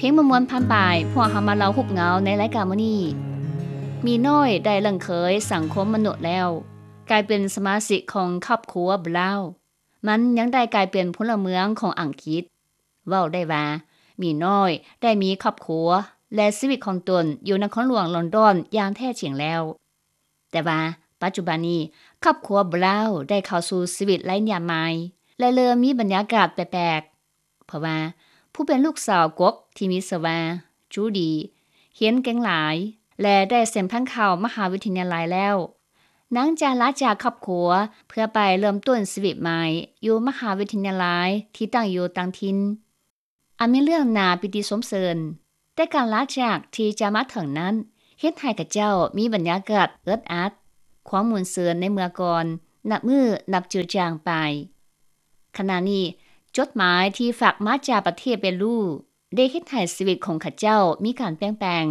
ພຽງມ່ວນໆຜ່ານໄປ, ພວກເຮົາມາເລົ່າຮູບເງົາໃນລາຍການມື້ນີ້. ໝີນ້ອຍໄດ້ເລິ້ງເຂີຍສັງຄົມມະນຸດແລ້ວ, ກາຍເປັນສະມາຊິກຂອງຄອບຄົວບຣາວ. ມັນຍັງໄດ້ກາຍເປັນພົນລະເມືອງຂອງອັງກິດ. ເວົ້າໄດ້ວ່າ ໝີນ້ອຍໄດ້ມີຄອບຄົວ ແລະ ຊີວິດຂອງຕົນຢູ່ນະຄອນຫຼວງລອນດອນຢ່າງແທ້ຈິງແລ້ວ. ແຕ່ວ່າປັດຈຸບັນນີ້ ຄອບຄົວບຣາວໄດ້ເຂົ້າສູ່ຊີວິດໄຮ້ນິຍາມໃໝ່ ແລະ ເລີ່ມມີບັນຍາກາດແປກໆ ເພາະວ່າຜູ້ເປັນລູກສາວກົກທີ່ມີຊື່ວ່າ ຈູດີ ຮຽນເກັ່ງຫຼາຍ ແລະ ໄດ້ເສັງຜ່ານເຂົ້າມະຫາວິທະຍາໄລແລ້ວ. ນາງຈະລາຈາກຄອບຄົວເພື່ອໄປເລີ່ມຕົ້ນຊີວິດໃໝ່ຢູ່ມະຫາວິທະຍາໄລທີ່ຕັ້ງຢູ່ຕ່າງຖິ່ນ. ອັນມີເລື່ອງໜ້າປີຕິຊົມເຊີນ, ແຕ່ການລາຈາກທີ່ຈະມາເຖິງນັ້ນ ເຮັດໃຫ້ຂະເຈົ້າມີບັນຍາກາດອຶດອັດ, ຄວາມມ່ວນຊື່ນໃນເມື່ອກ່ອນ ນັບມື້ນັບຈືດຈາງໄປ. ຂະນະນີ້, ຈົດໝາຍທີ່ຝາກມາຈາກປະເທດເປຣູ ໄດ້ເຮັດໃຫ້ຊີວິດຂອງຂະເຈົ້າມີການປ່ຽນແປງ,